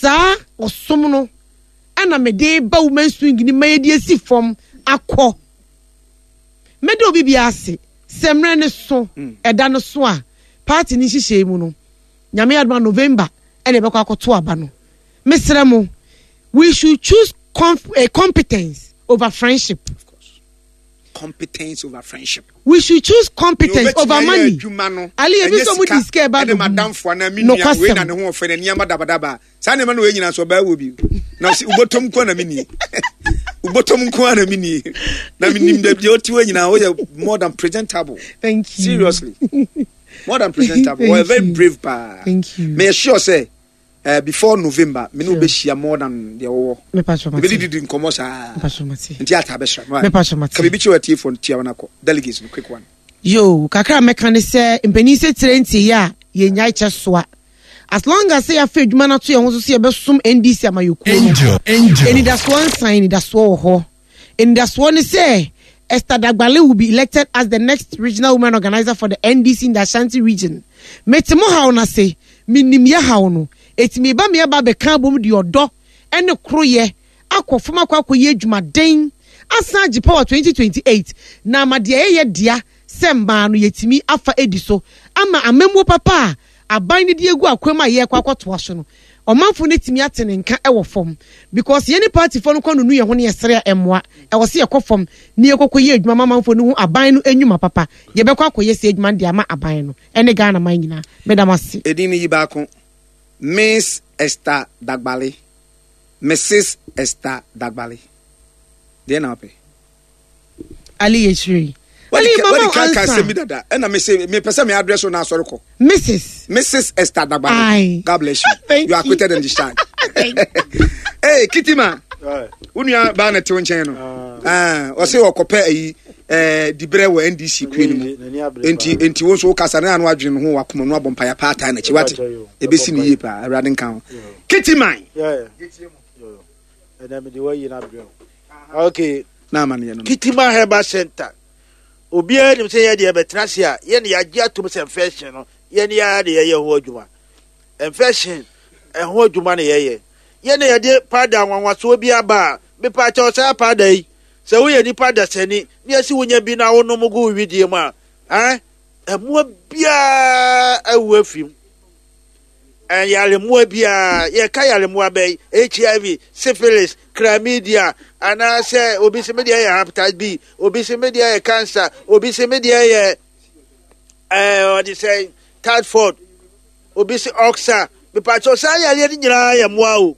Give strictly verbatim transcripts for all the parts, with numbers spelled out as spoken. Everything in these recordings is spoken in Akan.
Saa ɔsom no ɛna mede ba women's wing ni ma yɛde asi fam akɔ. Mɛde obi bi ase sɛ mmerɛ ne so, ɛda no so a party ne nhyehyɛ mu no, Nyame adoma, November ɛna ɛbɛkɔ akɔto aba no. Mesrɛ mo, we should choose conf eh, competence over friendship. Competence over friendship. We should choose competence over money. Adwuma no. Ali, ebi sɛ ɔmo di sika ɛba ɛne bɛgu. Madamfo anaa me nua Nokwasɛm. wei na ne ho ɔfɛ na nneɛma dabadaba saa nneɛma no wei nyinaa so ɔbaa wɔ bi na ɔsi wobɔtɔm nko na me nie, wobɔtɔm nko na me nie, na me nim deɛ ɔte hɔ nyinaa, woyɛ more than presentable. Thank you. Seriously, more than presentable. Thank Wɔyɛ very you. brave paa. Thank you. Meyɛ sure sɛ uh, before November me ne Sure. wobɛhyia more than deɛ wɔwɔ. Mepa mate. Ebɛdididi nkɔmmɔ saa. Mepa mate. Nti ata bɛhyira. Mepa mate. Ka biribi kyerɛ atiefoɔ no tia wɔn akɔ delegates no, quick one. Yo, kakra a mɛka ne sɛ mpanin sɛ tire nti yɛ a yɛnya kyɛ soa. As long as sɛ yɛafa adwuma no ato yɛn ho so sɛ yɛbɛsom N D C amayɔkuo no, Angel, Angel. anidasoɔ nsan, anidasoɔ wɔ hɔ. Anidasoɔ ne sɛ Esther Dagbale will be elected as the next regional women organizer for the N D C in the Ashanti Region. Mete mo haw no ase, menim yɛ haw no, ɛtumi ba me aba bɛka abom de ɔdɔ ne koroyɛ akɔ fam akɔ akɔyɛ adwumaden asan agye power twenty twenty-eight na ama deɛ ɛyɛ dea sɛ mmaa no yɛtumi afa edi so ama amammuo papa a aban no de egu akwam a yɛrekɔ akɔtoa so no, ɔmanfo no tumi ate ne nka ɛwɔ fam, because yɛne partyfoɔ no kɔ nunu yɛn ho ne yɛsere a ɛmmoa. Ɛwɔ sɛ yɛkɔ fam ne yɛkɔkɔ yɛ adwuma ma amanfoɔ no ho aban no enyuma papa. Yɛbɛkɔ akɔyɛ sɛ adwuma no de ama aban no ɛne Ghana man nyinaa. Meda mo ase. Edin no yi baako, Miss Esther Dagbale, Missus Esther Dagbale, deɛ na wopɛ? Ali, yɛkyerɛ Ali mama wadi ka ka ansa. Asɛm bi dada ɛna me se mepɛ sɛ me address wo na asɔre kɔ. Missus Missus Esther Dagbale. Aye. God bless you. Thank You are you. acquitted and discharged. Hey, Kitima, wo nua baa na te wo nkyɛn no. Ah, ɔse ɔkɔpɛ ayi eh, diberɛ wɔ N D C kue no mu, enti enti wo nso wokasa ne ano adwene no ho wakoma no abɔ mpaya paa taa n'akyi wate ɛbɛsi ne yie paa. Awurade nka ho, Kitiman. Ɛnna mede wayi no abrɛ wo, okay. Na amanneɛ no no Kitima Herbal Center, obiara nim sɛ yɛdeɛ bɛtena ase a yɛne yɛagye atom sɛ infection no, yɛne yɛa de yɛyɛ ho adwuma. Infection ɛho adwuma no yɛyɛ. Yɛne yɛde powder nwanwasoɔ bi aba a mepa kyɛw, saa powder yi, sɛ woyɛ nipa dasani ne yɛsi wonya bi na wonom gu wo widie mu a, ɛn ɛmoa biara awu afi mu. Yaremmoa biara, yɛka yaremmoa bɛyi H I V, syphilis, chlamydia, anaasɛ obi sɛ medeɛ yɛ hepatitis B, obi sɛ medeɛ yɛ cancer, obi sɛ medeɛ yɛ ɛɛ ɔde sɛ typhoid, obi sɛ ulcer. Mepakyɛw, saa yareɛ no nyinaa yɛ mmoa o.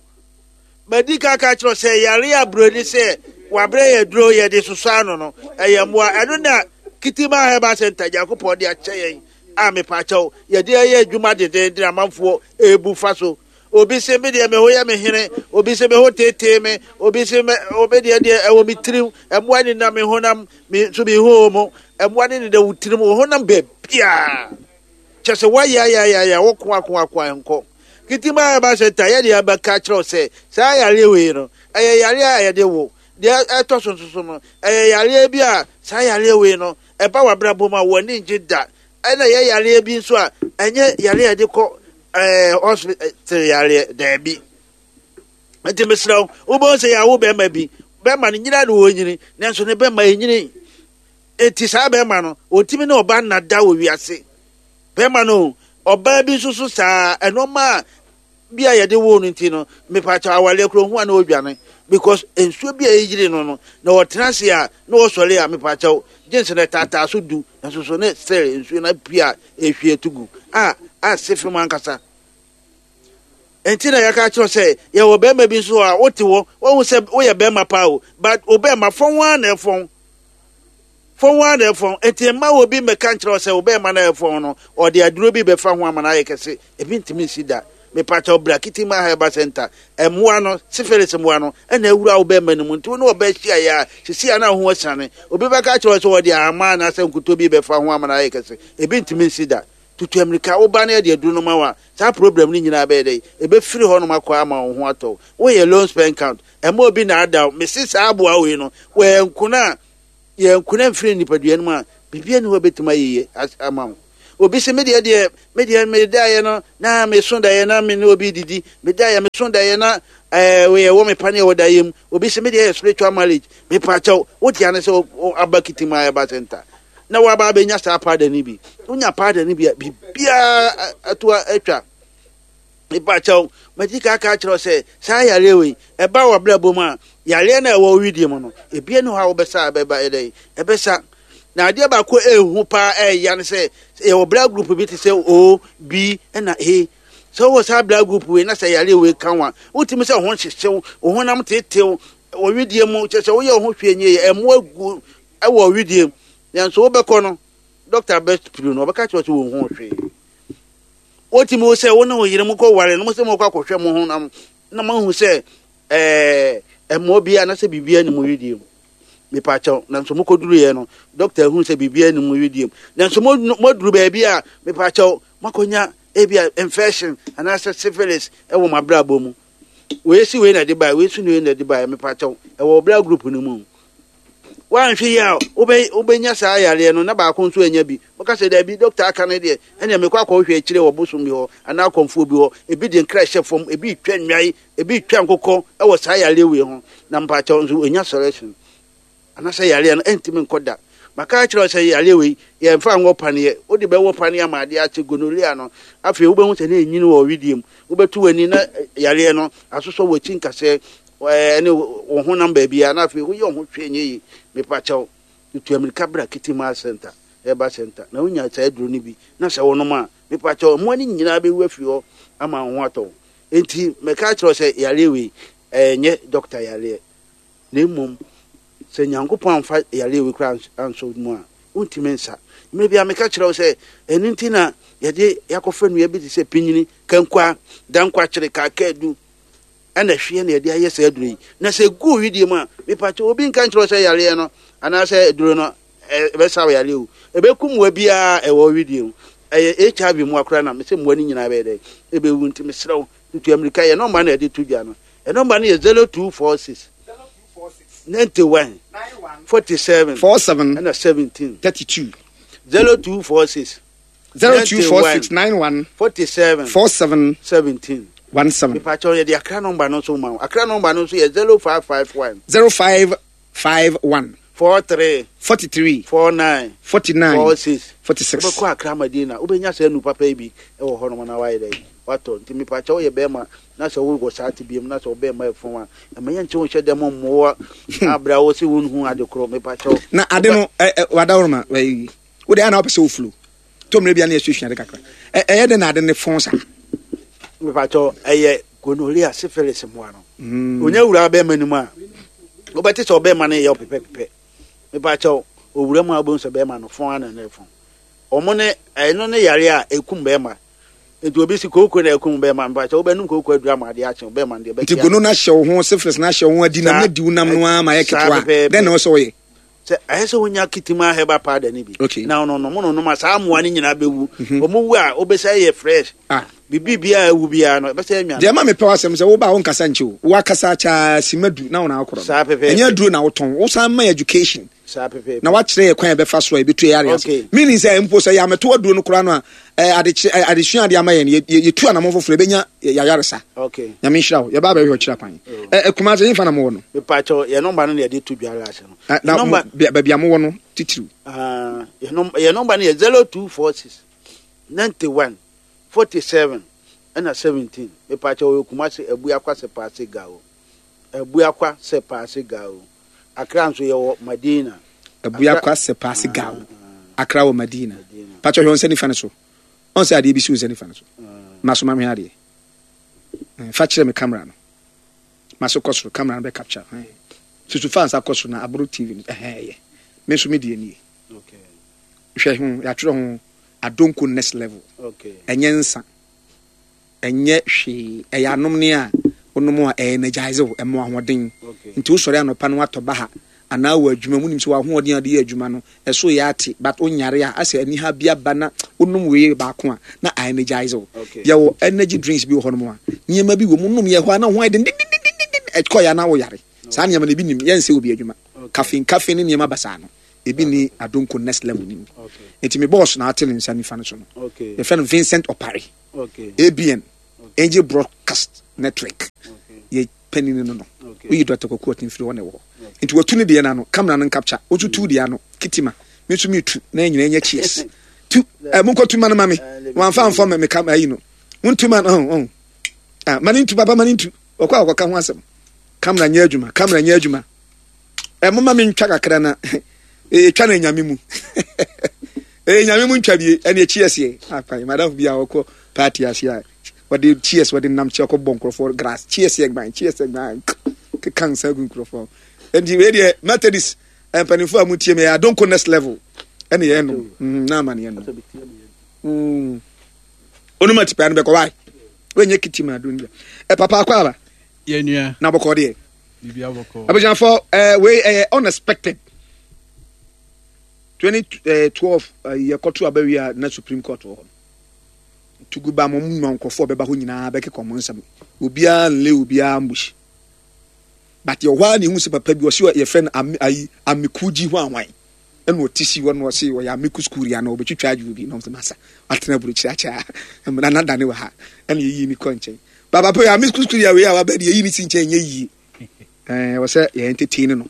Madi ka ka kyerɛ sɛ yare a buroni sɛ wabrɛ yɛ duro yɛde sosɔ ano no, ɛyɛ mmoa. Ɛno na Kitima Herbal Center Nyankopɔn de akyɛ yɛn a mepakyɛw yɛde ɛyɛ adwuma dedenden amanfoɔ ebu fa so. Obi sɛ me deɛ me ho yɛ me hene, obi sɛ me ho tetee me, obi sɛ me obi deɛ deɛ ɛwɔ me tirim, ɛmmoa ne nam me honam me nso me ho mu, ɛmmoa ne nenam wo tirim, wo honam baabiaa kyɛ sɛ woayɛ ayɛ ayɛ wo ko ako ako nkɔ Kitima Herbal Center. Yɛde abɛka kyerɛw sɛ saa yareɛ wei no, ɛyɛ yareɛ a yɛde wo deɛ ɛtɔ so nso so no, ɛyɛ yareɛ bi a saa yareɛ wei no ɛba w'abrabɔ mu a w'ani ngye da, ɛna ɛyɛ yareɛ bi nso a ɛnyɛ yareɛ a yɛde kɔ ɛɛ hospital yareɛ, daabi. Nti mesrɛ wo, wobɛhu sɛ yɛawo bɛrima bi, bɛrima no nyina ne wɔnyini, nanso ne bɛrima ɛnyini. Enti saa bɛrima no ɔntumi ne ɔba nnada wɔ wiase. Bɛrima no, ɔbaa bi nso so saa ɛnɔɔma a bi a yɛde wo no nti no, mepakyɛ awareɛ kuro ho a na ɔdwane because nsuo bi a ɛyiri no no na ɔtena ase a na ɔsɔre a, mepakyɛw, jeans no taataa so du nso so ne sɛ nsuo no apue a ɛhwie to gu a ase fam ankasa. Nti na yɛka kyerɛ sɛ yɛwɔ bɛrima bi nso a wote hɔ, wɔhu sɛ woyɛ bɛrima paa o, but wo bɛrima fɔn ara na ɛfɔn, fɔn ara na ɛfɔn. Nti mma wɔ bi mmɛka nkyerɛ sɛ wo bɛrima na ɛfɔn no, ɔde aduro bi bɛfa ho ama no ayɛ kɛse. Ebi ntumi nsi da. Mepakyɛw, bra Kitima Herbal Center. Ɛmmoa no, syphilis mmoa no ɛna awura wo bɛrima no mu, nti wo ne ɔbɛ hyia yɛ a sisi a na ho asiane. Obi bɛka kyerɛ sɛ ɔde ahama anaasɛ nkuto bi bɛfa ho ama no ayɛ kɛse, ebi ntumi nsi da. Tutu amirika, woba no yɛde aduro no ma wa, saa problem no nyinaa bɛyɛ dɛ ɛbɛfiri hɔ nom akɔ ama wo ho atɔ. Woyɛ low sperm count, ɛma obi na ada wo. Mese saa aboa wei no, wɔyɛ nkona a yɛ nkona mfiri nipadua no mu a biribi ani hɔ bɛtumi ayɛ yie ama wo. Obi sɛ medeɛ deɛ medeɛ medaeɛ no na meso daeɛ na me ne obi didi, medaeɛ meso daeɛ na ɛɛ wɔyɛ wɔ me pane wɔ daeɛ mu. Obi sɛ medeɛ yɛ spiritual marriage. Mepakyɛw, wotia ne sɛ aba Kitima Herbal Center na waba abɛnya saa powder no bi. Wonya powder no bi a, biribiara ato atwa. Mepakyɛw, madi ka aka akyerɛ sɛ saa yareɛ wei ɛba wɔ abrabɔ mu a, yareɛ no a ɛwɔ widie mu no, ebia ne hɔ a wobɛsa ɛbɛba ɛdɛn ɛbɛsa. Na adeɛ baako ɛɛhu paa ɛɛya ne sɛ yɛwɔ blood group bi te sɛ O, B ɛna A. Sɛ wowɔ saa blood group wei na sɛ yareɛ wei ka wo a, wotumi sɛ wo ho hyehyew, wo honam tetew wɔ widie mu, kyerɛ sɛ woyɛ wo ho hwee nyɛ yɛ, ɛmmoa gu ɛwɔ widie mu. Nanso wobɛkɔ no, dɔkta bɛpiri no, ɔbɛka kyerɛ wo sɛ wɔnhu hwee. Wotumi wo sɛ wo ne wo yere mo kɔ ware no, mo sɛ mo kɔ akɔhwɛ mo ho nam na mo ahu sɛ ɛɛ ɛmmoa bi anaasɛ biribi ne mo widie mu. Mepakyɛw, nanso mo kɔduru no, dɔkta ahu sɛ biribi ne mo widie mu. Nanso mo mo aduru baabi a, mepakyɛw, moakɔnya ebi a infection anaasɛ syphilis ɛwɔ mo abrabɔ mu. Wei si wei na ɛde baeɛ, wei si wei na ɛde baeɛ. Mepakyɛw, ɛwɔ blood group no mu. Woanhwɛ yi a, wobɛ wobɛnya saa yareɛ no na baako nso anya bi. Wɔka sɛ daabi, dɔkta aka no deɛ, ɛnea mekɔ akɔhwɛ akyire wɔ bosom bi hɔ anaa akɔmfoɔ bi hɔ. Ebi de nkra hyɛ fam, ebi twa nnwae, ebi twa nkokɔ ɛwɔ saa yareɛ wei ho. Na mpakyɛw nso ɔnya solution anaasɛ yareɛ no ɛntumi nkɔ da. Maka akyerɛ wo sɛ yareɛ wei yɛmfa nwɔ paneɛ, wode bɛwɔ paneɛ ama adeɛ akye gonorrhea no. Afei wobɛhu sɛ ne ɛnyini wɔ widie mu, wobɛtu w'ani na yareɛ no asosɔ w'akyi nkasɛɛ ɛne wo honam baabi a, na afei woyɛ wo ho hwee nyɛ yi. Mepakyɛw, tutu amirika bra Kitima Center, Herbal Center, na wonya saa aduro no bi na sɛ wonom a, mepakyɛw, mmoa no nyinaa bɛwu afiri hɔ ama wo ho atɔ wo. Enti mɛka akyerɛ wo sɛ yareɛ wei ɛnyɛ dɔkta yareɛ, na mmom sɛ Nyankopɔn amfa yareɛ wei koraa ansɔ mu a, wontumi nsa. Mmerɛ bi a meka kyerɛ wo sɛ ɛno nti na yɛde yɛakɔfa nnua bi te sɛ pinyini, kankwa, dankwakyere, kaakaadu ɛna hweɛ na yɛde ayɛ saa aduro yi. Na sɛ gu widie mu a, mepakyɛ, obi nka nkyerɛ wo sɛ yareɛ no anaasɛ aduro no ɛbɛsa wo yareɛ o, ɛbɛkum mmoa biara ɛwɔ widie mu. Ɛyɛ H I V mmoa koraa na mesɛ mmoa no nyinaa bɛyɛ dɛ ɛbɛwu. Nti mesrɛ wo, tutu amirika. Yɛ nɔmba no yɛde to dwa no, ɛnɔmba no yɛ zero two four six ninety-one forty-seven forty-seven ɛna seventeen thirty-two zero two four six zero two four six nine one forty-seven forty-seven seventeen seventeen. Mepakyɛw, yɛde Akra nɔmba no nso ma wo. Akra nɔmba no nso yɛ zero five five one zero five five one four three forty-three four nine forty-nine four six. forty-six. Wobɛkɔ Akra Madina, wobɛnya saa nu papa yi bi wɔ hɔnom na wayɛ dɛ watɔ. Nti mepakyɛ, woyɛ bɛrima na sɛ wowɔ saa te biam na sɛ wobɛrima ɛfom a, ɛma yɛnkyɛ wo nhyɛ dɛm mmoa abrɛ wo sɛ wonhu ade korɔ. Mepakyɛw. Na ade no wadaworoma wode ana wopɛ sɛ woflo to mmerɛ bia ne yɛsuasua ade kakra. Ɛyɛ dɛn na ade ne fɔn saa? Mepakyɛw, ɛyɛ gonorrhea, syphilis mmoa no. Onya wura bɛrima no mu a, wobɛte sɛ ɔbɛrima no yɛ ɔpepɛpepɛ. Mepakyɛw, owura mu a, wobɛhu sɛ bɛrima no fɔn ana ne fɔn. Ɔmo ne ɛno ne yare a ɛkum bɛrima. Nti obi si kooko na ɛkum bɛrima, mepakyɛw, wobɛnum kooko aduru ama adeɛ akye bɛrima no deɛ. Nti gono no ahyɛ wo ho, syphilis no ahyɛ wo ho adi nam na di wo nam no ara ma yɛ ketewa. Dɛn na ɛwɔ sɛ woyɛ? Sɛ ɛyɛ sɛ wonya Kitima Herbal powder no bi Okay. na ɔno no mo no nom a, saa mmoa no nyinaa bɛwu. Ɔmo wu a, wobɛsɛ yɛ fresh. Ah. Biribi biara ɛwu biara no, ɛbɛsɛ anwa. Deɛ ma mepɛ w'asɛm sɛ woba a, wonkasa nkyɛ o, woakasa kyaa sima du na wona akorɔ. Saa pɛpɛɛpɛ. Ɛnyɛ aduro na wotɔn, wosan ma education saa pɛpɛɛpɛ. Na wakyerɛ yɛ kwan a yɛbɛfa so a yɛbɛtu yɛ ase. Okay. Meaning sɛ mpo sɛ yɛamɛto aduro no koraa no a, eh, adekyerɛ- eh, adesua ade ama yɛn no, yɛ- yɛ- yɛtu anammɔn foforɔ, yɛbɛnya yɛayaresa. Okay. Nyame nhyira wo. Yɛba bɛhwɛ ɔkyerɛ kwan. Eh, eh, Kumase yɛmfa na mowɔ no? Mepakyɛw, yɛ nɔmba no na yɛde to dwa ase no. Na- na Yɛ mo- nɔmba bea- baabi a mowɔ no titiriw? Ah, yɛ nɔmba yɛ nɔmba no yɛ zero two four six ninety-one forty-seven ɛna seventeen. Mepakyɛw, yɛ Kumase, Abuakwa Sɛpaase Gao, Abuakwa Sɛpaase Gao. Akra nso yɛwɔ Madina. Abuakwa Sɛpaase Gao, Akra wɔ Madina. Pakyɛ, hwɛ wo nsa nifa no so. Ɔn sɛ adeɛ bi si wo nsa nifa no so. Ma so ma mehwɛ adeɛ. Eh, fa kyerɛ me camera no. Ma so kɔ soro, camera no bɛ capture. Eh. Susu fa nsa kɔ soro na aboro T V no. Ɛhɛn, ɛyɛ me nso me deɛ nie. Okay. Hwɛ ho, yɛatwerɛ ho Adonko Next Level. Okay. Ɛnyɛ nsa, ɛnyɛ hwee, ɛyɛ anom ne a wonom a ɛyɛ energize wo, ɛmo ahoɔden. Okay. Nti wosɔre anɔpa no, watɔ ba ha anaa wɔ adwuma mu, nim sɛ w'ahoɔden a wode yɛ adwuma no ɛso yɛ ate, but wonyare a asɛ aniha bi aba na wonom wei baako a na a energize wo. Okay. Yɛwɔ energy drinks bi wɔ hɔnom a nneɛma bi wɔ mu, nom yɛ hɔ a na wo ho ayɛ dendendendenden, ɛkɔ yɛ a na woyare. Saa nneɛma no ebi nim yɛnsɛ obi adwuma. Okay. Caffeine, caffeine ne nneɛma basaa no Ebi ni Adonko Next Level ni mu. Nti me boss na ate ne nsa nifa no so no. Yɛfrɛ no Vincent Opare. A B N, Angel Broadcast Network. Yɛ panyin no no. Woyi Doctor Kwaku Ɔten firi hɔ na ɛwɔ hɔ. Nti watu ne deɛ no ano, camera no ncapture. Wotu tu deɛ ano, kitima. Me nso metu na yɛn nyinaa nyɛ cheers. Tu, ɛ monkɔ tu ma no ma me. Wɔamfa amfa me me kam ayi no. Montu ma no, ɔn ɔn. Ah, ma ne ntu papa, ma ne ntu. Ɔkɔ a ɔkɔka ho asɛm. Camera nyɛ adwuma, camera nyɛ adwuma. Ɛ moma me ntwa kakra na ɛtwa no Nyame mu. Ɛyɛ Nyame mu ntwa bie ɛne cheers yɛ. Akwan, madam bi a ɔkɔ party ase a wɔde cheers wɔde nam kyɛ ɔkɔ bɔ nkurɔfoɔ grass, cheers yɛ gban, cheers yɛ gban, keka nsa gu nkurɔfoɔ. Nti wei deɛ, Methodist mpanimfoɔ a mutie me, yɛ Adonko Next Level ɛne yɛn nom mm, na ama ne yɛn nom mm. Onum atipaa no bɛkɔ wae wɔnyɛ kiti ma adon ɛ papa akɔ aba. Yɛnua. Na bɔkɔ deɛ. Biribi abɔkɔ. Abusuafo, ɛɛ wei ɛyɛ unexpected. Twenty twelve yɛkɔto abawi a na Supreme Court wɔ hɔ tugu ba mo mu nkurɔfoɔ bɛba hɔ nyinaa bɛkeka ɔmo nsɛm, obiara nle obiara ambush, but yɛ hɔ a na ehu sɛ papa bi ɔsi yɛfrɛ no ami ayi amikuji ho ahwan ɛna ɔte si hɔ na ɔsi ɔyɛ amicus curiae na ɔbɛtwitwa adwo bi na ɔmo sɛ masa atena aburokyire akyɛ a mmara na dane wɔ ha ɛna yɛyi ne kɔ nkyɛn. Baba pɛ amicus curiae wei a waba de yɛyi ne si nkyɛn nyɛ yie. ɛɛ wɔ sɛ yɛn entertain no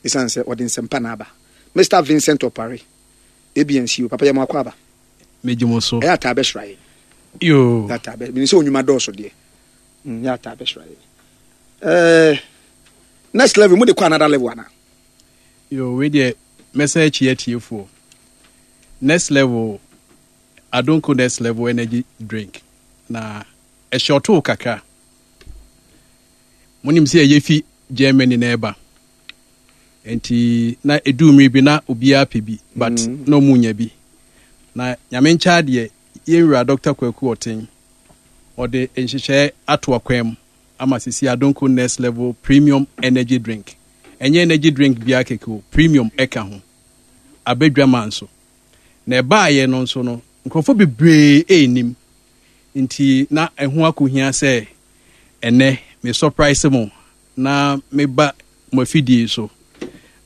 esan sɛ ɔde nsɛmpa na aba. Mister Vincent Opare, A B N C O, papa, yɛ mo akɔ aba. Megye mo so. Ɛyɛ ataa bɛsra yɛn. Yoo. Ɛyɛ ataa bɛ mene sɛ onwuma dɔɔso deɛ mm ɛyɛ ataa bɛsra yɛn. ɛɛ next level mo de kɔ another level ana? Yoo, wei deɛ mɛsɛ akyi atiefoɔ. Next Level, Adonko Next Level energy drink na ɛhyɛ ɔtoo kakra. Monim sɛ ɛyɛ fi Germany na ɛba, nti na ɛduu mmere bi na obiara pɛ bi, but mm. na ɔmu nya bi. Na Nyame nkyɛ adeɛ, yɛnwura Doctor Kwaku Ɔten ɔde nhyehyɛe ato akwan mu ama sisi Adonko Next Level Premium Energy Drink, ɛnyɛ energy drink biara kɛkɛ o, premium ɛka ho, abɛdwama nso na ɛbaayɛ no nso no nkurɔfoɔ bebree ɛnnim, nti na ɛho akɔhia sɛ ɛnɛ me surprise mo na meba mo afidie so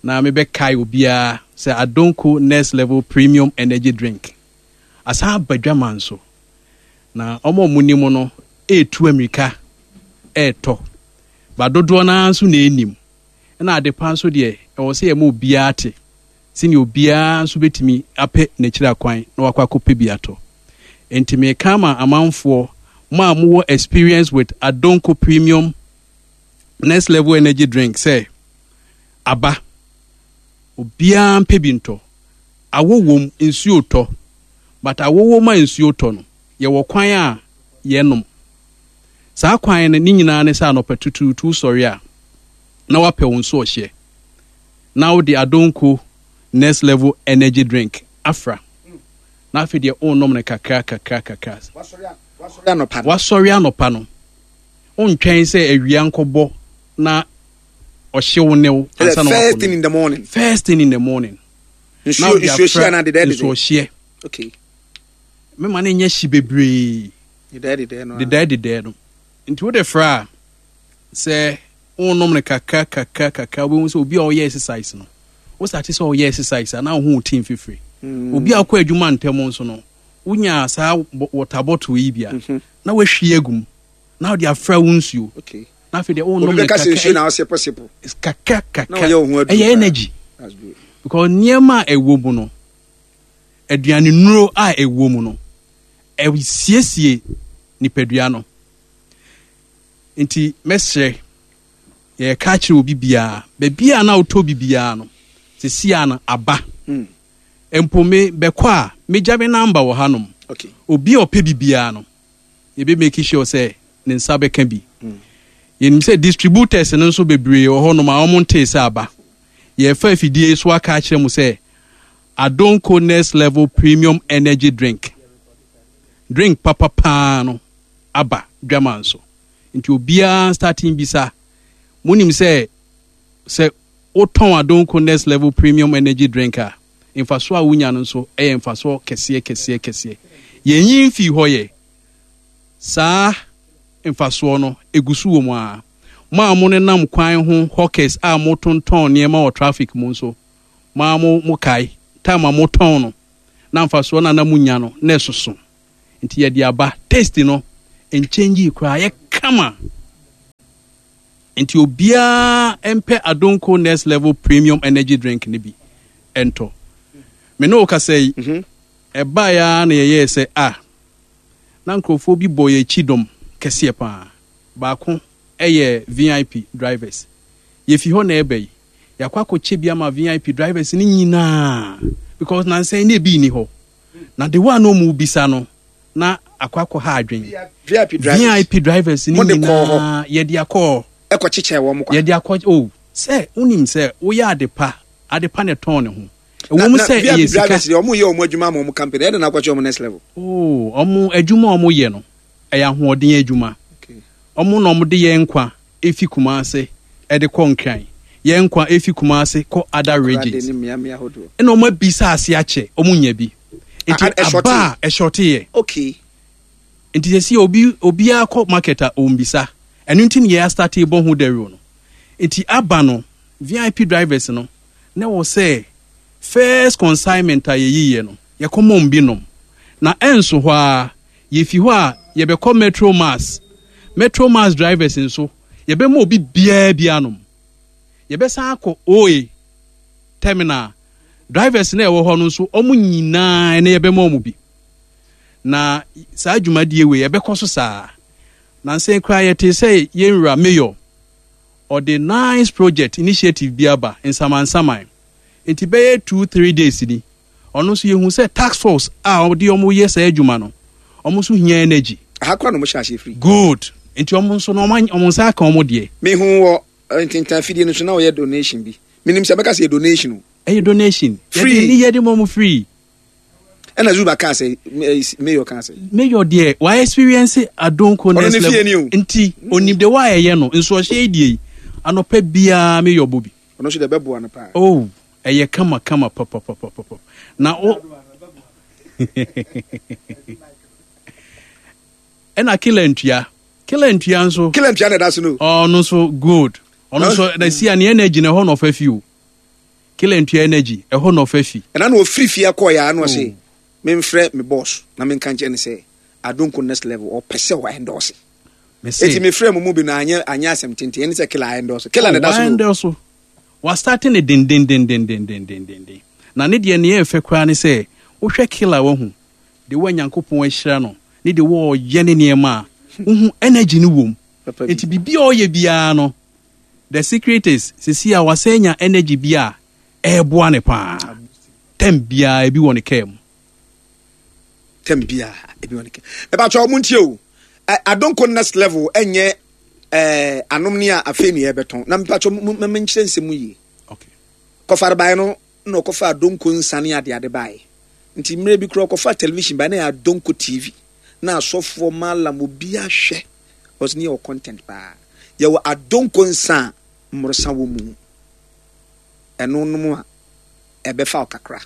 na mebɛkae obiara sɛ Adonko Next Level Premium Energy Drink asan aba dwama nso, na ɔmo a ɔmo nim no ɛɛtu amirika ɛɛtɔ ba dodoɔ naa nso na ɛnim. Ɛna adepa nso deɛ, ɛwɔ sɛ yɛma obiara te sɛnea obiara nso bɛtumi apɛ n'akyiri akwan na wakɔ akɔpɛ bi atɔ. Nti meka ama amanfoɔ mo a mowɔ experience with Adonko Premium Next Level Energy Drink sɛ aba, obiara mpɛ bi ntɔ. Awɔ wom, nsuo tɔ, but awɔ wom a nsuo tɔ no, yɛwɔ kwan a yɛnom. Saa kwan no ne nyinaa ne sɛ anɔpa tutuutu sɔre a na wapɛ wo nso ɔhyɛ na wode Adonko Next Level Energy Drink afra na afei deɛ wonom no kakra kakra kakra. Wasɔre anɔpa no, wontwɛn sɛ awia nkɔbɔ na ɔhyew ne wo ansa na. First thing in the morning. First thing in the morning. Nsuo nsuo hyia na dedɛ dedɛ. Nsuo hyɛ. Okay. Mema no nyɛ hye bebree. Dedɛ dedɛ no. Dedɛ dedɛ no. Nti wode fra a, sɛ wonom no kakra kakra kakra, wobɛhu sɛ obi a ɔyɛ exercise no, wo start sɛ ɔyɛ exercise a na wohu wo team fifiri. Mm. Obi a ɔkɔ adwuma ntɛm nso no, wonya saa water bottle yi bi a mhm. na wahwie agu mu na wode afra wo nsuo na afei deɛ wonom no kakra kakra, ɛyɛ energy because nneɛma a ɛwɔ mu no, aduane nnuro a ɛwɔ mu no, ɛsiesie nipadua no. Nti mɛsrɛ, yɛka kyerɛ obi biara, baabi a na wotɔ bi biara no, sesia no aba hmm. Mpo me bɛkɔ a megya me number wɔ hanom. Obi a ɔpɛ bi biara no, yɛbɛ make sure sɛ ne nsa bɛka bi hmm. Yɛnim sɛ distributors no nso bebree wɔ hɔnom a wɔn ntee sɛ aba. Yɛfa afidie so aka akyerɛ mu sɛ Adonko Next Level Premium Energy Drink, drink papa paa no, aba dwama nso. Nti obiara starting bisa. Monim sɛ sɛ wotɔn Adonko Next Level Premium Energy Drink a, mfasoɔ a wonya no nso yɛ mfasoɔ kɛseɛ kɛseɛ kɛseɛ. Yɛnyi mfii hɔ yɛ saa mfasoɔ no egu so wɔ mu a. Mo a mo nenam kwan ho, hawkers a motontɔn nneɛma wɔ traffic mu nso, Maa mo mo kae time a motɔn no na mfasoɔ no a na monya no na ɛsoso. Nti yɛde aba taste no nkyɛngyi koraa yɛ kama. Nti obiara mpɛ Adonko Next Level Premium Energy Drink no bi ɛntɔ. Me ne wo kasa yi, mhm. ɛbaeɛ ara na yɛyɛɛ sɛ a na nkurɔfoɔ bi bɔ yɛn akyi dɔm kɛseɛ paa. Baako ɛyɛ V I P drivers. Yɛfi hɔ na ɛba yi, yɛakɔ akɔkyɛ bi ama V I P drivers no nyinaa because nansa yi na ebi nni hɔ. Na de wa na ɔmu bisa no na akɔ akɔ ha adwen. V I P drivers. V I P drivers no Mode kɔɔ hɔ. nyinaa yɛde akɔ. Ɛkɔ kyekyɛ wɔn kwa. Yɛde akɔ o sɛ wonim sɛ woyɛ ade pa, ade pa na ɛtɔn ne ho. Ɛwɔ mu na sɛ V I P ɛyɛ sika. Drivers deɛ, ɔmo yɛ ɔmo adwuma ama ɔmo company, ɛde na akɔkyɛ ɔmo Next Level. Oh, ɔmo adwuma a ɔmo yɛ no ɛyɛ ahoɔden adwuma. Ɔmo na ɔmo de yɛn nkwa efi Kumase ɛde kɔ Nkran, yɛn nkwa efi Kumase kɔ other regions. Ne mmeammea ahodoɔ. Ɛna ɔmo abisa ase akyɛ, ɔmo nya bi nti Ah, ah, ɛshɔte. Aba a ɛshɔte yɛ. Okay nti sɛ si obi obiara kɔ market a ɔmbisa ɛno nti ne yɛ astart bɔ ho dawuro no. Nti aba no, V I P drivers no na wɔ sɛ first consignment a yɛyiyɛ no, yɛkɔmɔ bi nom na ɛnso hɔ a yɛfi hɔ a yɛbɛkɔ Metro Mass. Metro Mass drivers nso, yɛbɛma obi biara bi anom. Yɛbɛsan akɔ O A terminal drivers na ɛwɔ hɔ no nso, ɔmo nyinaa ɛnɛ yɛbɛma ɔmo bi. Na saa dwumadie wei yɛbɛkɔ so saa. Nansɛn koraa yɛte sɛ yɛnwura mayor ɔde nice project initiative bi aba nsamansaman, nti bɛyɛ two three days ni ɔno nso yɛhu sɛ task force a ɔde ɔmo yɛ saa adwuma no, ɔmo nso hia energy. Aha kora na ɔmo hyɛ aseɛ firi. Good, nti ɔmo nso no ɔmo any- ɔmo nsa aka ɔmo deɛ. Mehu wɔ eh, ntentan fidie no so na ɔyɛ donation bi. Menim sɛ bɛka sɛ yɛ donation o. Ɛyɛ donation. Free. Yɛde ne yɛde ma ɔmo free. Ɛna Zuba kaa sɛ eh, mayor kaa sɛ mayor deɛ wa experience Adonko Ɔno Next ne fie Level ni o. Nti onim de wa ɛyɛ no nso ɔhyɛ yi deɛ yi anɔpɛ biara mayor bɔ bi. Ɔno nso deɛ bɛboa no paa. Oh, ɛyɛ kama kama papapapapa na o ɛna Killer Ntua, Killer Ntua nso. Killer Ntua na ɛda so no. Ɔno nso good, ɔno nso na si a ne energy na ɛhɔ na ɔfa fi o. Killer Ntua energy ɛhɔ na ɔfa fi. Ɛna na ɔfiri fie akɔɔ yɛ ano ɔse memfrɛ me boss na menka nkyerɛ ne sɛ Adonko Next Level ɔpɛ sɛ ɔ endorse. Mese eti mefrɛ mu mu bi no anyɛ anyɛ asɛm tenten ɛne sɛ Killer endorse. Killer na ɛda so no. Endorse wastart ne dendendendendendendenden na ne deɛ neɛ ɛfɛ koraa ne sɛ wohwɛ Killer, wahu de wa Nyankopɔn ahyira no ne de wɔɔyɛ ne nneɛma a wohu energy no wom. Papa bi. Nti biribi a ɔyɛ biara no, the secret is sisi a wasɛn nya energy bi a ɛɛboa ne paa. Tɛm biara ebi wɔ ne kaa mu. Tɛm biara ebi wɔ ne kaa. Ɛbàtɔ ɔmo ntie o. Ɛ, Adonko Next Level ɛnyɛ ɛɛ anom ne a afei ne yɛbɛtɔn na mpatwɔ mo mo nkyerɛ nsɛm mu yie. Okay kɔfare baeɛ no na ɔkɔfa Adonko nsa ne adeade baeɛ, nti mmerɛ bi koraa ɔkɔfa television baeɛ na yɛ Adonko T V na asɔfoɔ malam obi ahwɛ ɔsɛ ne yɛwɔ content paa. Yɛwɔ Adonko nsa a mmorosa wɔ mu, ɛno nom a ɛbɛfa wo kakra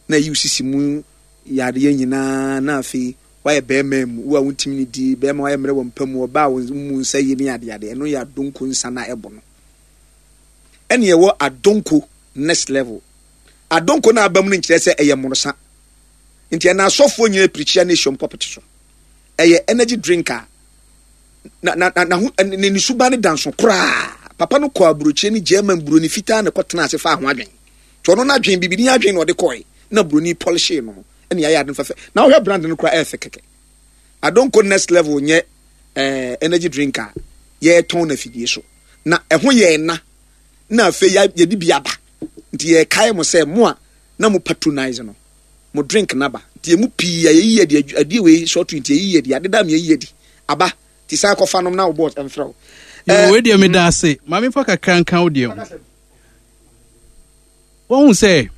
na ɛyi wo sisi mu yareɛ nyinaa na afei wayɛ bɛrima mu wo a wontumi ne di bɛrima, wayɛ mmerɛ wɔ mpa mu, ɔbaa wo mu nsa yie ne adeade. Ɛno yɛ Adonko nsa na ɛbɔ no. Ɛne ɛwɔ Adonko Next Level. Adonko no aba mu no nkyerɛ sɛ ɛyɛ mmorosa, nti ɛna asɔfoɔ nyinaa pirikyia ne ehyiam pɔpɛte so. Ɛyɛ energy drink a na na na na ho ne ne suban ne danso koraa. Papa no kɔ aburokyire ne German buroni fitaa na ɛkɔ tena ase fa ho adwen tí ɔno n'adwen bibini adwen na ɔde kɔɛ na buroni polish no ɛna yɛayɛ ade no fɛfɛ na ɔhwɛ brand no koraa ɛyɛ fɛ kɛkɛ. Adonko Next Level nyɛ ɛɛ energy drink a yɛretɔn na fidie so na ɛho yɛ na na afei yɛde bi aba, nti yɛrekae mo sɛ mo a na mo patronize no, mo drink naba, nti emu pii a yɛyi yɛ de adeɛ wei short, nti yɛyi yɛ de adeda mi yɛyi yɛ di aba, nti san kɔfa nom na wo boss ɛmfrɛ wo. Yo, wei deɛ meda ase. Maame fa kakra nka wo deɛ ho. Wɔhu sɛ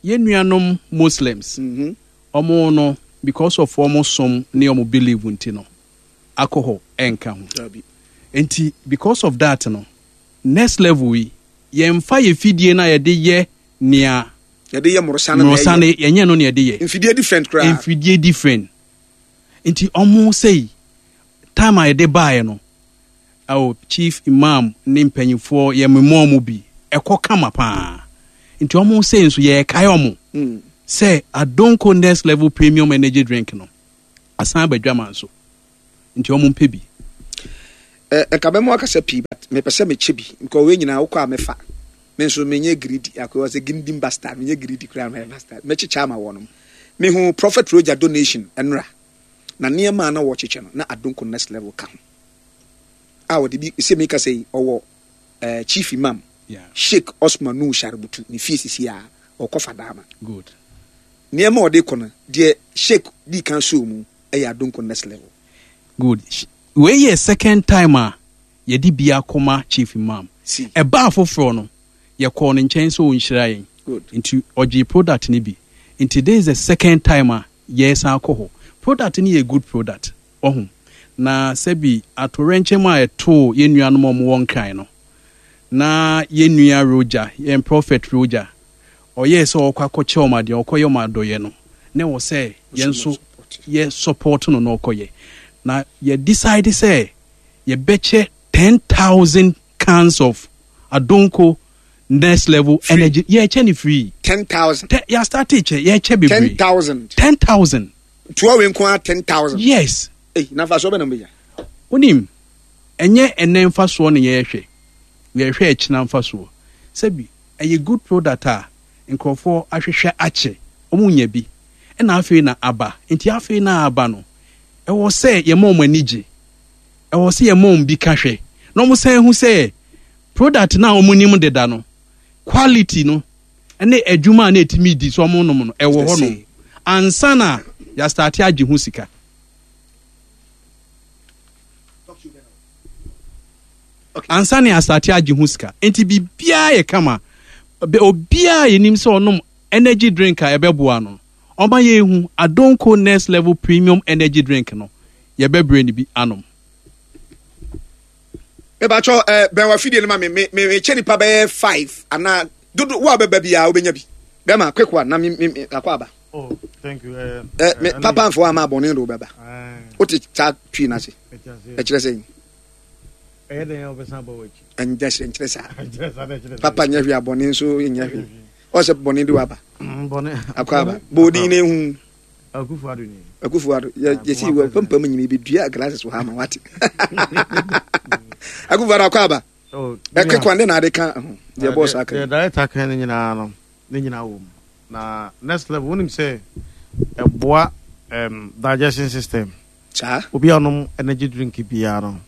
yɛn nuanom Muslims, Mhm. ɔmo no because of ɔmo som ne ɔmo believe nti no, alcohol ɛnka ho. Dabi. Nti because of that no, Next Level yi yɛmfa yɛ fidie no a yɛde yɛ nea yɛde yɛ mmorosa no na mmorosa no ɛyɛ. Yɛnyɛ no ne yɛde yɛ. Mfidie different koraa. Mfidie different, nti ɔmo sɛyi time a yɛde baeɛ no, ɛwɔ chief imam ne mpanyinfoɔ yɛ mmemmɔ mu bi ɛkɔ kama paa. Nti ɔmo sei nso yɛɛkae ɔmo Mm. sɛ Adonko Next Level Premium Energy Drink no asan aba dwama nso, nti ɔmo mpɛ bi. Ɛka bɛma wakasa pii, but mepɛ sɛ mekyɛ bi nka wei nyinaa wokɔ a mɛfa. Me nso menyɛ greedy akɔ sɛ gindin bastard, menyɛ greedy koraa, mɛyɛ bastard, mɛkyekyɛ ama wɔnom. Mehu Prophet Roger donation ɛnora na nneɛma a na wɔkyekyɛ no na Adonko Next Level ka ho a wɔde bi sɛ meka sɛ yi ɔwɔ eh, Chief Imam Yeah. Sheikh Osman Nu Sharubutu ne fie sisi a ɔkɔ Fadama. Good. Nneɛma a ɔde kɔ no deɛ, Sheikh di kan so mu ɛyɛ Adonko Next Level. Good. Wei yɛ second time a yɛde bi akɔma Chief Imam. Si. Ɛbaa foforɔ no, yɛkɔɔ ne nkyɛn sɛ ɔnhyira yɛn. Good. Nti ɔgye product no bi, nti this is the second time a yɛsan akɔ hɔ. Product no yɛ good product ɔho, na sɛbi atorɛnkyɛm a ɛtoo yɛn nuanom a wɔwɔ Nkran no na yɛn nua Roger, yɛn Prophet Roger, ɔyɛɛ sɛ ɔkɔ akɔkyɛ ɔmo adeɛ, ɔkɔyɛ ɔmo adɔyɛ no, na ɛwɔ sɛ yɛn nso yɛ support no na ɔkɔyɛ, na yɛ decide sɛ yɛbɛkyɛ ten thousand cans of Adonko Next Level Free. Energy. Yɛkyɛ ne free. Ten thousand. Tɛ yɛ start kyɛ, yɛkyɛ ten bebree. thousand. Ten thousand. Tuo wei nko ara ten thousand? Yes. Ei, na fa so bɛ na mbɛnya. Wonim, ɛnyɛ ɛnɛ mfasoɔ ne yɛrehwɛ, yɛrehwɛ ɛkyena mfasoɔ. Sɛbi ɛyɛ good product a nkurɔfoɔ ahwehwɛ akyɛ, ɔmo nya bi, ɛna afei na aba. Nti afei na aba no, ɛwɔ sɛ yɛma ɔmo ani gye, ɛwɔ sɛ yɛma ɔmo bi ka hwɛ na ɔmo san hu sɛ product na ɔmo nim deda no, quality no ɛne adwuma a na ɛtumi di so ɔmo nom no ɛwɔ hɔ nom ansa na yɛa start agye ho sika. Ansa na yɛa start agye ho sika, nti biribiara yɛ kama. Bɛ- obiara yɛnim sɛ ɔnom energy drink a ɛbɛboa no, ɔma yɛhu Adonko Next Level Premium Energy Drink no, yɛbɛbrɛ no bi anom. Mebatwɛ ɛ bɛn wa fidie no ma me me me mekyɛ nipa bɛyɛ five anaa dodo wo a bɛba biara wobɛnya bi. Bɛma quick one na me me me akɔ aba. Oh, thank you. Uh, ɛ me papa nfo ama abɔne de wobɛba wote saa twi no ase, ɛkyerɛ sɛ Ɛyɛ dɛn a wobɛsan ba w'akyi? Ɛnkyerɛ sɛ nkyerɛ saa. Ɛnkyerɛ saa na ɛkyerɛ sɛ papa nyɛ hwee, abɔne nso nyɛ hwee, ɔsɛ bɔne de waba. Mm, bɔne. Akɔ aba bɔɔdin na ehu. Akufo Addo ni. Akufo Addo yɛ yɛsi Kuma wɔ president. Pampam nyina ebedua glasses wɔ ha ma wate. Akufo Addo akɔ aba. Oh, ɛ quick one de na ade ka ho deɛ bɔɔso aka. Deɛ director kan no nyinaa no ne nyinaa wɔ mu, na next level wonim sɛ ɛboa um, digestion system. Saa. Obi a ɔnom energy drink biara no,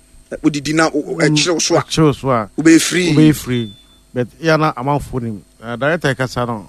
wodidi na ɛkyerɛw so a, ɛkyerɛw so a, wobɛyɛ free. Wobɛyɛ free, but yɛ na amanfoɔ nim. uh, director kasa no,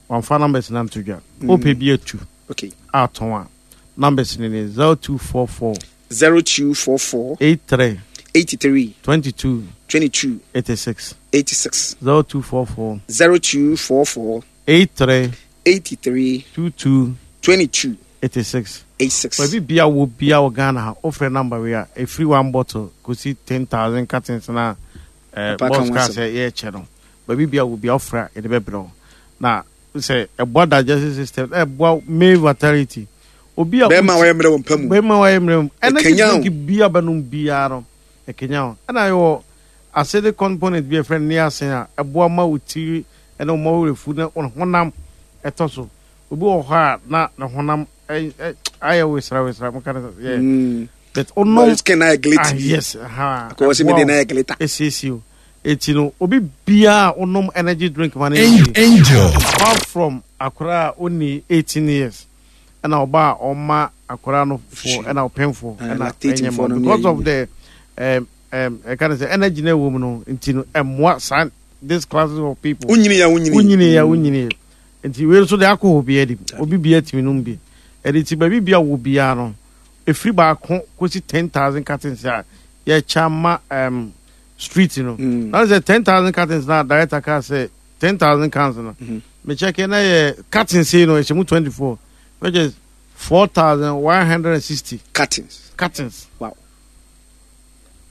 wamfa numbers na nto dwa. Wopɛ bi atu okay atɔn a, numbers ne ne zero two four four zero two four four eight three eighty-three twenty-two twenty-two eighty-six. eighty-six. zero two four four zero two four four eighty-three eighty-three twenty-two twenty-two eighty-six. eighty-six. Baabi bia wɔ bia wɔ Ghana ha, wofrɛ number wei a, ɛfiri one bottle kɔsi ten thousand cartons na eh, Papa ka boss ho kaa asɛm. Sɛ yɛrekyɛ no, baabi bia wɔ bia wofrɛ a, yɛde bɛbrɛ wo, na sɛ ɛboa digestive system na ɛboa male vitality, obi a bɛrima a wɔyɛ mmerɛ wɔ mpa mu. Bɛrima a wɔyɛ mmerɛ mu, energy Ɛkanyan wo. drink bia bɛnom biara no ɛkenya wo, ɛna yɛwɔ acidic component bi a yɛfrɛ no niacin a ɛboa ma wo tiri ɛne wo ma wo werɛfu na wo honam ɛtɔ so. Obi wɔ hɔ a na ne honam ɛ- ɛ- ayɛ wesra wesra mo ka no sɛ yɛ Mm. but ɔnom skin na ayɛ glitter. Ah, yes, aha. Akɔ sɛ mede na ayɛ glitter. Esiesie o, eti no obi biara a ɔnom energy drink ma no yɛ Angel. yie. Angel. Apart from akwaraa a ɔnni eighteen years, ɛna ɔba a ɔma akwaraa no fo ɛna ɔpɛnfo Ah, ɛna lactating ɛnyɛ foɔ ma no because ne of the um, um, ɛka ne sɛ energy na ɛwɔ mu no, nti no ɛmmoa saa this classes of people. Wonyini ya wonyini. Wonyini ya wonyini, nti wei nso de alcohol bi adi, obi bia tumi nom bi. Ɛde ti baabi bia wɔ biara no, efiri baako kɔsi ten thousand cartons a yɛkyɛ ama um, street no. Mm. Na sɛ ten thousand cartons na director kaa sɛ ten thousand cans no, Mhm. mekyɛkɛ na yɛ cartons sei no ɛhyɛ mu twenty four, which is four thousand one hundred and sixty cartons. Cartons. Wow,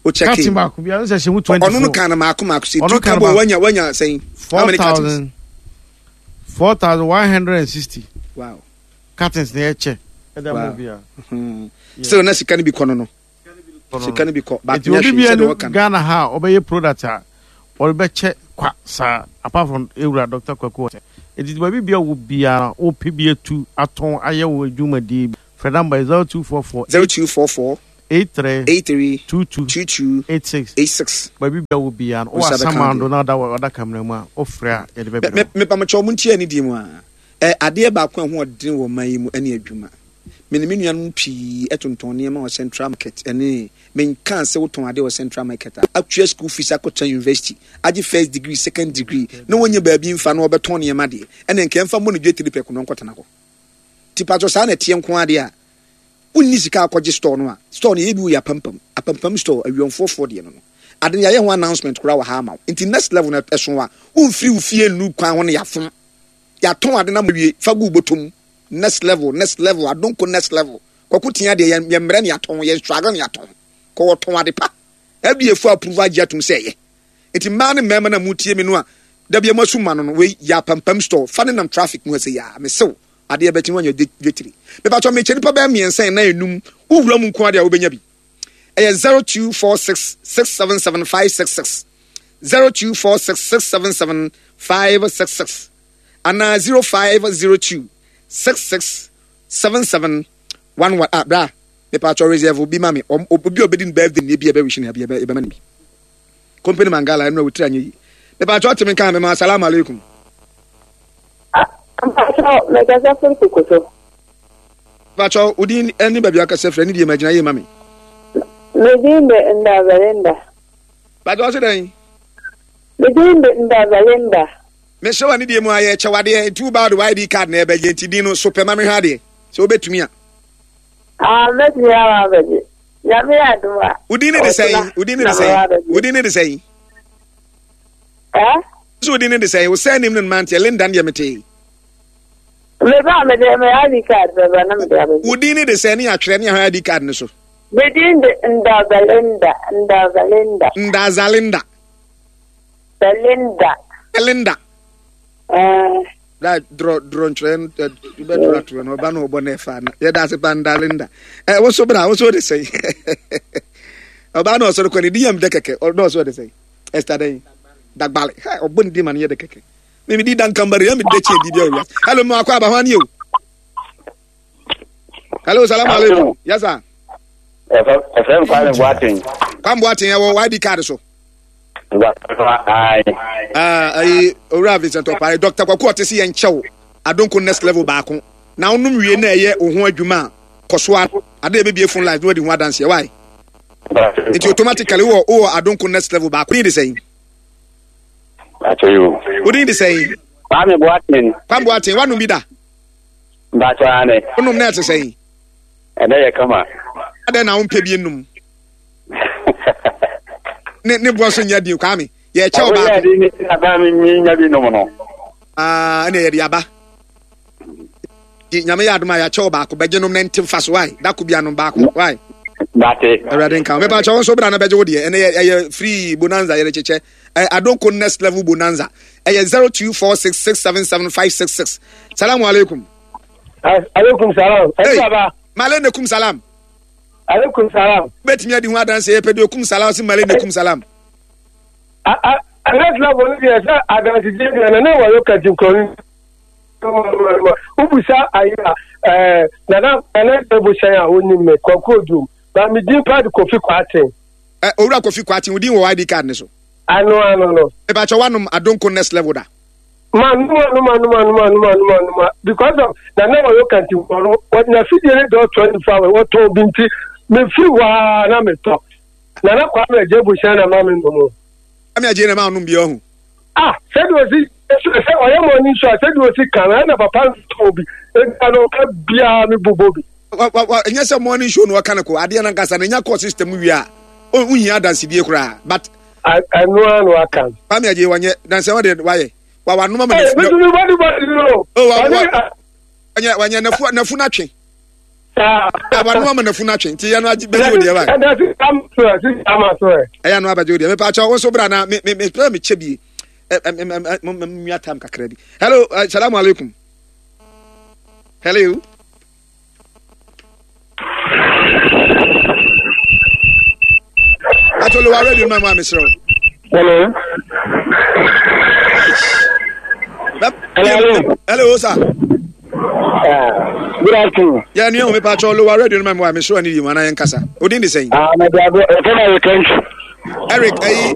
o check. Carton baako bi a sɛ ɛhyɛ mu twenty four. Ɔno no kan no maako maako sɛ Ɔno tu kan ka bɔ baako. wanya wanya sɛn, how four many cartons? thousand four thousand one hundred and sixty wow cartons na yɛkyɛ ɛda Wow. mu bia. Hmm. Still na sika no bi kɔ no no sika no bi kɔ, but nti nyɛ obi hwee bia sɛdeɛ no wɔka no. Ghana ha a ɔbɛyɛ product a ɔrebɛkyɛ Kwa saa, apart from ewura Doctor Kwaku Ɔtɛ. Eti baabi bia wo biara wopɛ bi atu atɔn ayɛ wo adwumadie bi. Frɛ number zero two four four zero two four four eight three eight three two two two two eight six eight six. Baabi bia wo biara no, Wo nsa wɔ bɛka asamando adeɛ. na ɔda wɔ ɔda kamera mu a, wofrɛ a yɛde Me bɛbrɛ me wo. mepamokyɛw mo ntie anidie mu a ɛ adeɛ baako a ɛho ɔden wɔ man yi mu ɛne adwuma. Me ne me nuanom pii ɛtontɔn nneɛma wɔ Central Market ɛne menkaa sɛ wotɔn adeɛ wɔ Central Market a atua school fees akɔtena university agye first degree, second degree na wɔnyɛ baabi mfa na wɔbɛtɔn nneɛma deɛ ɛne nka ɛmfa mmɔ ne dwa tiri pɛko na ɔnkɔtena hɔ. Nti patro saa na ɛteɛ nko adeɛ a wonni sika akɔgye store no a store no yɛ bi wɔ yɛ apampam apampam store awiɔmfoɔfoɔ deɛ no no ade no yɛayɛ ho announcement koraa wɔ ha ama wo. Nti next level no ɛso a womfiri wo fie nnu kwan ho no yɛafom yɛatɔn ade no ama wie fa gu bɔtɔm. Next level, next level, adonko next level. Kwaku tia deɛ yɛn yɛn mmerɛ ne yɛatɔn, yɛn struggle ne yɛatɔn. Kɔ wɔtɔn ade pa. F D A fo approve agye atum sɛ ɛyɛ. Nti mmaa ne mmarima na mu tie mi no a dabi ɛmo asu ma no no wei yɛ apampam store fa ne nam traffic mu ɛsɛ yaa mesew adeɛ bɛkyi no wanya dwetiri. Mepatɔ mekyɛ nipa bɛyɛ mmiɛnsa nnan enum wowura mu nko adeɛ a wobɛnya bi. Ɛyɛ zero two four six six seven seven five six six zero two four six six seven seven five six six ana zero five zero two six six seven seven one one. Ah bra mepatɔ reserve bi ma me obi a obedi ne birthday ne bi a ɛbɛwish ne bi ɛbɛma ne bi. Company Mangala ɛno a wotiri anyɛ yi. Mepatɔ temi kan me ma assalamu alaikum. Mpatsɔ mɛkasa firi Kokoso. Mpatsɔ odin ɛne baabi akasa firi ɛne deɛ magyina yie ma me. Medin de Ndazalinda. Mpatsɔ ɔse dɛn? Medin de Ndazalinda. Mehyɛ wa ne deɛ mu ayɛ kyɛwadeɛ nti wo baa de I D card na ɛbɛgye nti din no so pɛ ma mehwɛ adeɛ sɛ wobɛtumi a. Ah, mɛtumi ama abɛgye. Nyame yɛ adom a. Wodin ne de sɛn? Wodin ne de sɛn? Wodin ne de sɛn? Eh? So wodin ne de sɛn? Wo sɛ nim ne manteɛ Linda ne deɛ metee. Me ba me de me I D card bɛba na me de abɛgye. Wodin ne de sɛn ne atwerɛ ne ahwɛ I D card ne so? Medin de Ndazalinda, Ndazalinda. Ndazalinda. Belinda. Belinda. Eh. Da draw draw ntwerɛ bɛ draw atwerɛ no ɔba no ɔbɔ ne fa na yɛda ase pa Ndalinda. Eh wo so bra wo so de sɛn? Ɔba no ɔsɔre kɔ ne di yam de kɛkɛ ɔno ɔsɔ de sɛn? Esther den Dagbale. Ha ɔbɔ ne di ma no yɛ de kɛkɛ. Me me di dankambari ya me de kye di bi awia. Hello mo akɔ aba ho ani o. Hello salam alaikum. Yes sir. F M Kwame Boateng. Kwame Boateng ɛwɔ I D card so. Ayi. Ah ayi Owura Vincent Opare Doctor Kwaku ɔte se yɛn kyɛw adonko next level baako. Na onom wie na ɛyɛ wo ho adwuma a kɔso a ade ebebie phone lines no adi ho adanse why? Nti automatically wo wo adonko next level baako ni de sɛn? Acho. Wodin de sɛn? Kwame Boateng. Kwame Boateng wanum bi da? Mbacho ane. Onum na ɛte sɛn? Ɛnɛ yɛ kama. Adɛn na wompɛ bi num? Ne ne boɔ so nyɛ din Kwame. Yɛ kyɛw baako. Ɔyɛ ne aba mi mi nya bi nom no. Ah, ɛna yɛde aba. Nyame yɛ adom a yɛakyɛw baako bɛgye nom na nte mfa so wae. Dako bi anom baako wae. Bate. Awurade nka. Mepa kyɛw nso bra na bɛgye wo deɛ. Ɛnɛ yɛ free bonanza yɛde kyekyɛ. Adonko next level bonanza. Ɛyɛ zero two four six six seven seven five six six. Salamu alaikum. Alaikum salam. Hey, Male nekum salam. Alaikum salam. Betumi adi ho adanse yɛ pɛ de okum salam si male nekum salam. A a next level ni deɛ sɛ adanse gye deɛ na ne wɔ yɛ kati nkɔni. Ubusa ayi a ɛɛ nana nana ebusan a onim me Kwaku Odum na mi din pa de Kofi Kwaten. Ɛ Owura Kofi Kwaten odin wɔ I D card ne so. Ano ano no. Ebakyɛ wanom adonko next level da. Ma numa numa numa numa numa numa numa because of nana wɔ yɛ kati nkɔni wɔ na fidie ne dɔ twenty four hours wɔtɔn bi nti me firi waa na me tɔ nana Kwame Agye ebusan na ma mi nom. Kwame Agye na ma nom bi ɔho. Ah sɛde osi sɛ ɔyɛ mɔ ni nso a sɛde osi kan ɛna papa ntɔn bi ega no ɔka biara mi bobɔ bi. Wa wa wa ɛnyɛ sɛ morning show no ɔka no ko adeɛ no ankasa no nya kɔ system wie a ɔnhia adansedie koraa but. Ɛno ara na waka. Kwame Agye wanyɛ dansi wɔde wayɛ wa wa noma ma nafu. Ɛɛ mi bɔdi bɔdi no. O wa wa wanyɛ wanyɛ nafu nafu n'atwe. Wa noma ma nafu n'atwe nti yɛn no agye bɛgye o deɛ wa. Ɛda si ama so ɛ si ama so ɛ. Ɛyɛ no abɛgye o deɛ mepa akyɛw nso bra na me me me pɛ me kyɛ bie. Ɛ ɛ ɛ ɛ mo tam kakra bi. Hello, uh, salamu alaikum. Hello. Atolo wa radio ma mo amisro. Hello. Hello. Hello, sir. Uh, good afternoon. Yeah, nua me pa cho lower radio no ma me wa me show ani yi mu ana yɛn kasa. Odin de sɛn? Ah, my brother, ɛfɛ na yɛ kɛntɛ. Eric, ayi